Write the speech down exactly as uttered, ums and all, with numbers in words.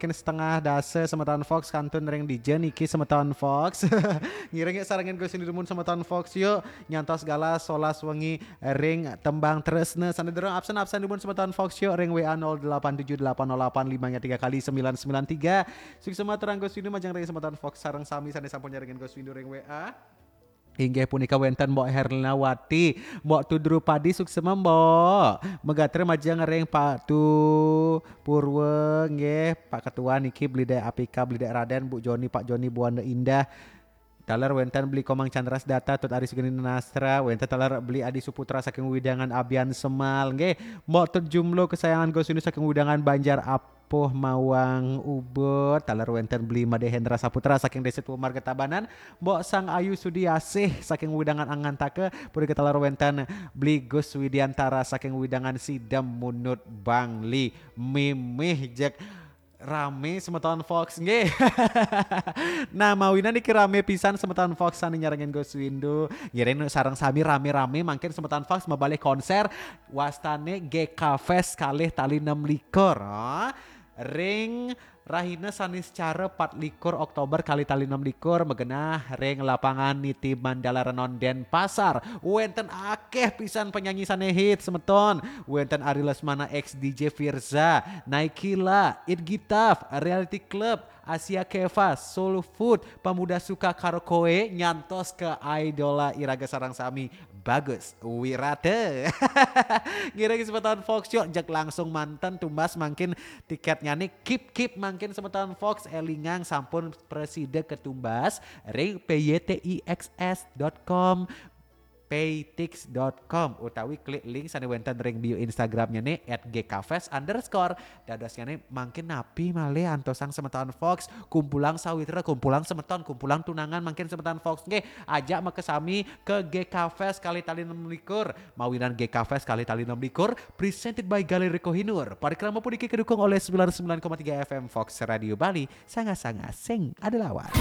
Kin setengah dasa semeton Fox kantun ring dija niki semeton Fox. Ngiring yuk sarengin Gus Windu dumun semeton Fox yuk. Nyantos galah solas wengi ring tembang tresna. Sane durung absen-absen dumun semeton Fox yuk ring W A nol delapan tujuh delapan nol delapan lima tiga kali sembilan sembilan tiga. Suksma aturang Gus Windu majeng ring semeton Fox sareng sami sane sampun nyarengin Gus Windu ring W A. Inggih punika wenten Mbok Herlinawati, Mbok Tudru Padi, suksma Mbok. Megatra majeng ring Pak Tu Purwa nggih, Pak Ketua niki, Beli Dek Apika, Beli Dek Raden, Bu Joni, Pak Joni, Bu Wanda Indah. Taler wenten Beli Komang Chandra Sedata, Tut Ari Sugini Nastra, wenten taler Beli Adi Suputra saking wewidangan Abian Semal nggih. Mbok Tut Jumlo kesayangan Gus Windu saking wewidangan Banjar Apuh Mawang Ubud, taler wenten Beli Made Hendra Saputra saking Desa Tua Marga Tabanan, Mbok Sang Ayu Sudiasih saking wewidangan Angantaka, punika taler wenten Beli Gus Widiantara saking wewidangan Sidem Munut Bangli. Mimih jeg rame semeton Fox nggih. Nah, mawinan niki rame pisan semeton Fox sane nyarengin Gus Windu. Ngiring sareng sami rame-rame mangkin semeton Fox mabalih konser wastane G K Fest kalih tali enam likur. Ah, ring rahina Saniscara pat likur Oktober kalih tali enam likur magenah ring lapangan Niti Mandala Renon Denpasar. Wenten akeh pisan penyanyi sane hit semeton. Wenten Ari Lesmana X D J Firza, Naikila, It Gitaf, Reality Club, Asia Keva, Soul Food, Pemuda Suka Karo Koe, nyantos ke idola iraga sareng sami, Bagus Wirata. Ngiring semeton Fox yuk, jeg langsung manten tumbas mangkin tiketnyane. Kip-kip mangkin semeton Fox, elingang sampun prasida katumbas ring P Y T I X S dot com, paytix dot com, utawi klik link sane wenten ring bio Instagramnyane at G K fest underscore. Dadosnyane mangkin napi malih antosang semeton Fox, kumpulang sawitra, kumpulang semeton, kumpulang tunangan mangkin semeton Fox nggih, ajak makasami ke G K Fest kalih tali enam likur. Mawinan G K Fest kalih tali enam likur, presented by Galeri Kohinoor. Parikrama puniki kadukung olih sembilan sembilan koma tiga F M Fox Radio Bali, sanga-sanga sing ada lawan.